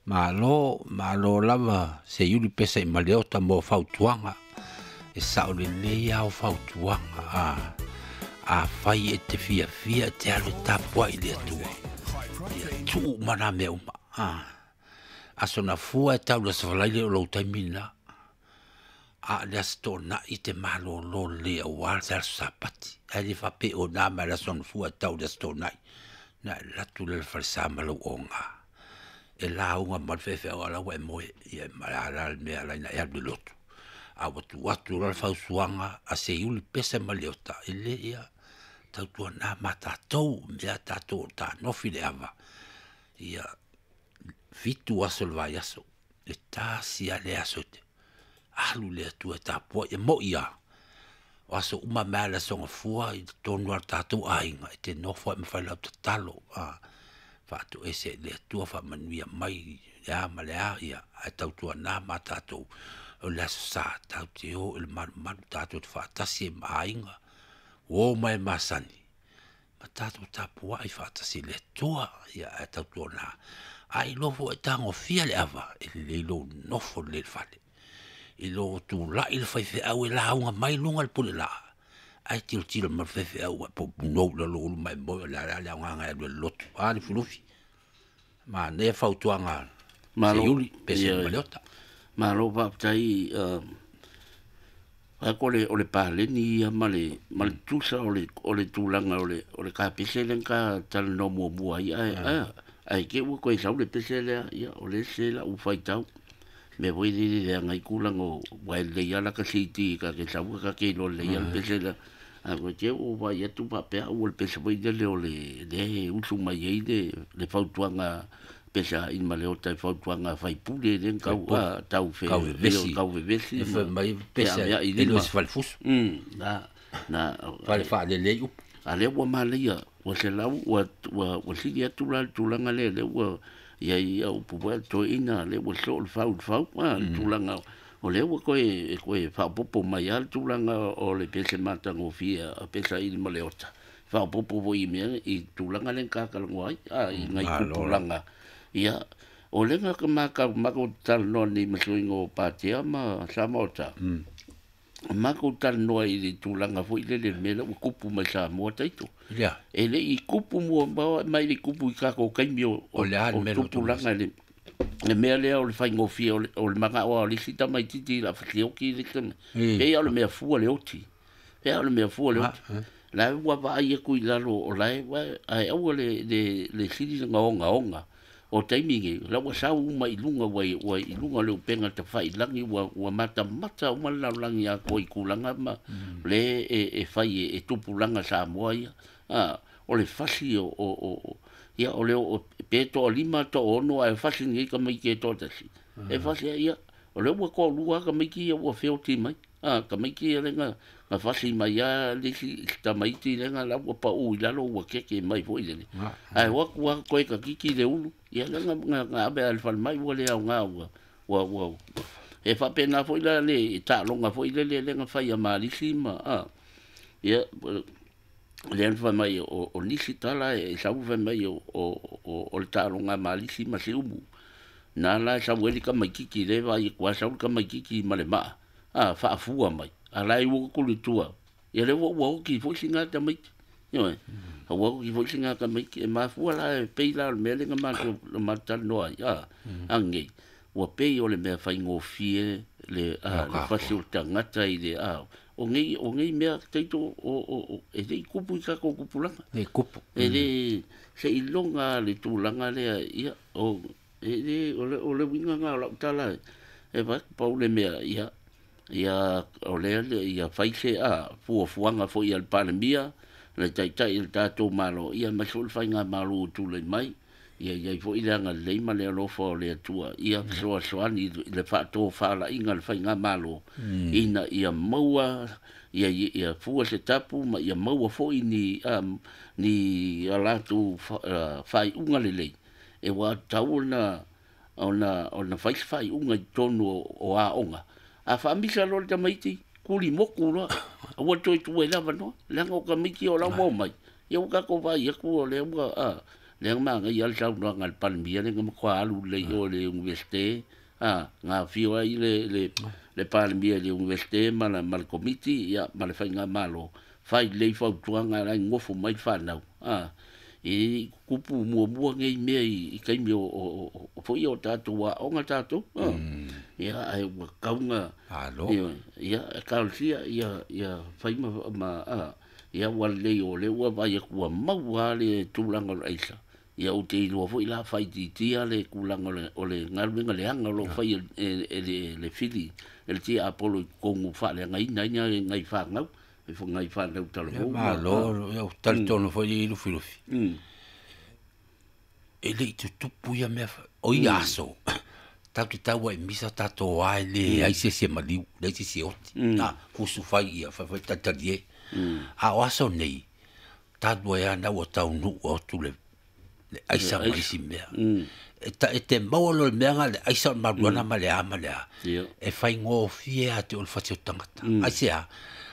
Malo, malo lava Seiuli Pesa i Maleota mo fautuaga. E sao lelei lava o fautuaga. Afai e te fiafia e te alu e tapuai i le Atua, ia tuu uma na mea uma. Aso na fua e tau i le Aso Faraile o lou taimi lena. A o le Aso Toonai e te malolo lelei aua le Aso Sapati. Ae le faapea o na mai le Aso Gafua e tau i le Aso Toonai. Na e alu atu lea i le falesa ma lou oga. E lauga mai le faifeau a o la ua e moe. Ia ma o le a la le mea e ala ai ona e alu i le lotu. A ua tuu atu loa le fautuaga a Seiuli Pese ma Leota, e le ia tautuana ma tatou, mea tatou o tanofi le ava, ia 7 aso o le vaiaso, e tasi lava le aso e te alu i le Atua e tapuai, e moi lava, o aso uma mai lava le Aso Gafua i totonu lava o le tatou aiga, e te nofo ai ma fai lau tatalo, faatoese i le Atua, faamanuia mai le a ma le a, ia, ae tautuana ma tatou, o le Aso Sa, tatou te o i le malumalu, tatou te faatasi ai ma aiga, uo ma e masani, ma tatou tapuai faatasi i le Atua, ia ae tautuana. A iloa foi e tagofia le ava, e lelei lou nofo lelei i le fale. I lo tulai le faifeau e lauga mai luga o le pulelaa, ae tilotilo mai le faifeau ua punou i lalo ulu ma e moe, o le a la le aoga e alu ai i le lotu. A Lufilufi, manaia fautuaga Seiuli, Pese ma Leota. Malo faafetai. O le paleni ia ma le tutusa o le tulaga o le kapese lea na talanoa muamua ai, ae te i ua toe sau le pese lea, ia o le ese lau faitau. Mea foi lele leaga ai tulaga o, aua e lelei lava lata CD ta te sau ta te iloa lelei lava le pese lea. Ae koe te i ua vaai atu faapea au o le pese foi lele o le lea e usu mai ai le fautuaga pese a i Maleota i fautuaga faipule lea tau tau fe tau vevesi mai pese e le o se falefusu. Na fale faalelei upu. A lea ua manaia, ua selau, ua sili atu la le tulaga lea, lea ua iai au upu foi a le toeaina, lea ua soo le fau i le fau, le tulaga o lea ua toe faaopoopo mai lava le tulaga o le pese matagofie a Pesa i Maleota. Faaopoopo foi i mea i tulaga lea na talanoa ai, i nai tupulaga. Ia, o lea na matou talanoa nei ma suiga o Patea ma Samaota. Matou talanoa i le tulaga foi lele mea lea ua tupu mai Samoa taito. E le i tupu mua mai le tupu i tatou taimi o tupulaga le mea lea o le faigofie o le manao o le isi tamaititi i la fasioki le tama. Pei o le mea fua le oti. Pei o le mea fua le oti. La ua vaai atu i lalo o la e aua le sili na ogaoga. O taimi nei, la ua sau uma i luga ua i luga o le upega tafailangi ua matamata uma le lalolagi atoa i tulaga ma le e fai e tupulaga Samoa ia. O le fasi o ia o le pe toa 5 toa 6 ae fasi nei tamaiti e toa tasi. E fasi ia o le ua toa 2 tamaiti ia ua feoti mai. Tamaiti ia lenga na fasi mai a le isi tamaiti lenga la ua pau i lalo ua keke mai foi lele. Ae ua tua koe ka kiki le ulu. Ia lenga nga ave al fal mai ua le au ngā ua e faapena foi la le taaloga foi lele lenga fai a malisi ma ia le fai mai o nisi tala e sau fai mai o le taaloga malisi ma se umu. Na la sau eli ka mai kiki le vai kwa sau ka mai kiki ma le maa. Faafua mai. A lai ua kuli tua. Ia le ua oki foi singa tamaiti. Ioe. Ua oki foi singa tamaiti. E mafua la e pei la o le mea lenga matou talanoa ai. Angei. Ua pei o le mea faigofie le fasi o le tagata i le o nei mea taito o e le i kupu i tatou tupulaga. Le kupu. E le se iloga le tulaga lea ia o e le o le uiga na o lau tala e vai pau le mea ia ia o lea ia fai se fuafuaga foi a le Palemia le taitai i le tatou Malo ia ma foi le faigamalo o tulai mai ia iai foi le agalelei ma le alofa o le Atua ia fesoasoani i le faatofalaiga le faigamalo ina ia maua ia fua se tapu ma ia maua foi ni a latou faaiuga lelei e ua tatau ona fai se faaiuga i totonu o aoga. A faamisa loa le tamaiti, kuli moku loa, aua toe tua i le avanoa, leaga o tamaiti o lau ua omai, ia ua tatou vaai atu o lea ua, Lea magaia le saunoaga a le Palemia le na matua alu lelei i o i le Iunivesite, a, na afio ai le Palemia i le Iunivesite ma le Komiti, ia, ma le Faigamalo, fai lelei fautuaga la e nonofo mai le fanau, a, e tutupu muamua nei mea i taimi o foi o tatou aoga tatou, a, ia, ae ua tatau ona, ia, talosia ia fai ma, a, ia ua lelei o lea ua vaai atu ua maua lava le tulaga o le aisa. Ia ou te iloa foi la faaitiitia le tulaga o le galuega leaga o lo o faia e le fili e le tiapolo i totonu faaleagaina ai nai fanau, nai fanau talavou. Malo, ia talitonu foi i Lufilufi. E le i tutupu ia mea, o ia aso, tatou te tau ai i misa tatou ae leai se isi e maliu, leai se isi e oti. Fusu fai ia, fai fai talitali e. A o aso nei, talu ai lava na ua taunuu atu le aisa ma isi mea. E te maua loa le mea lena le aisa o le maluana ma le a ma le a, e faigofie ia te oe le fati o le tagata. Aisea?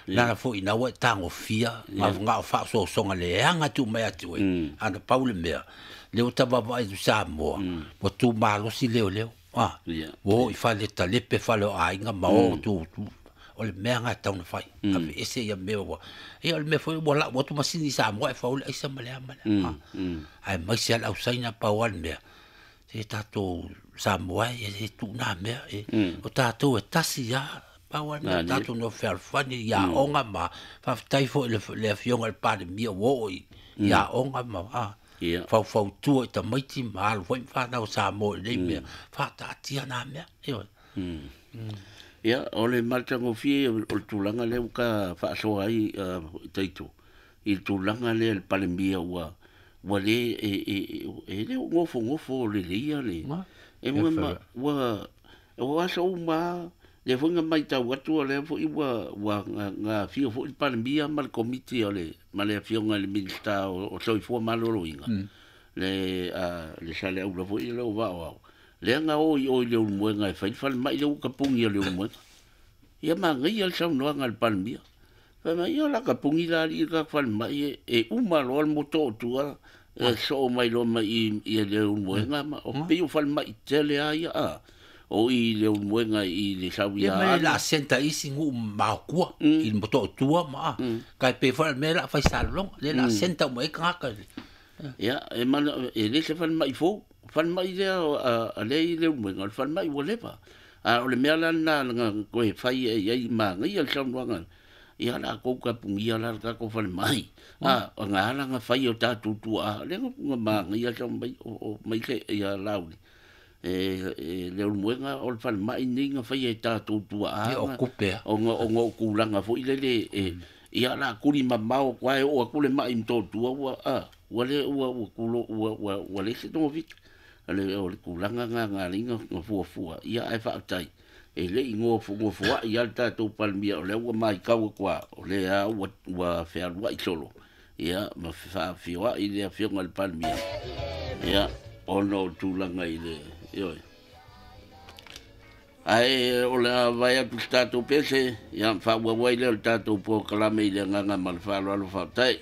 Leaga foi ina ua e tagofia, na o faaosoosoga leaga e tuu mai ia te oe, a na pau le mea, lea ua ta vaavaai atu i Samoa, ua tumalosi leoleo. Ua o i fale talepe, fale o aiga ma o tu, o le mea lena e tatau ona fai. Aveese ia mea ua, ia o le mea foi ua lau atu masini i Samoa e fau ai le aisa ma le a ma le a. Aemaise lava le ausaina pau lava le mea, se tatou Samoa e tuu na mea, o tatou e tasi lava, pau lava le mea, tatou nofo fealofani i aoga ma faafetai foi i le afioga i le Palemia ua oo i aoga ma faufautua i tamaiti ma alo foi ma fanau Samoa i lenei mea, faataatia na mea. Ia, o le matagofie o le tulaga lea ua ta faasoa ai Taito, i le tulaga lea le Palemia ua le, e le o nofonofo lelei le, e ua aso uma, lea foi na matau atu, lea foi ua afio foi le Palemia ma le Komiti o le, ma le afioga i le Minisita o Soifua Maloloina, le Saleaula foi le o vao au, lea na o i o i le Ulumoega e fai le falemai lea ua tapuni a le Ulumoega. Ia magaia le saunoaga a le Palemia. Fai mai, ia la tapuni la alii le tatou falemai e uma loa le moto o tua, e soo mai loa mai i le Ulumoega, ma o pei o falemai tele a ia a. O i le Ulumoega i le sauia. Ia mai la senta isi nuu maokua i le moto o tua ma kai pe fa me la fai salolonga le la senta mo e kaka. Ia e mana e le se falemai fou, falemai lea a le i le Ulumoega, le falemai ua leva. A o le mea la na koe fai e ai magaia le saunoaga. Ia la kou kapungia la tatou falemai. A o ngā ala nga fai o tatou tua le nga magaia sa mai o mai se ia lauli. E le Ulumoega o le falemai nei nga fai e tatou tua a. O kupe. O nga kulanga foi lele e ia la kuli mamao kwa o akule mai mto tua ua a ua le ua ua kulo ua ua ua le se tongo vit. Ale o le kulanga nga nga linga nga fua fua ia ai fatai. E le i ngofo ai le tatou Palemia o lea ua maitau kwa o lea ua fealuai solo. Ia ma faafioai le afioga i le Palemia. Ia ona o tulaga i le ioe. Ae o le a vai atu se tatou pese, ia faauau ai lea o le tatou polokalame i le agaga ma le faaaloalo faafetai.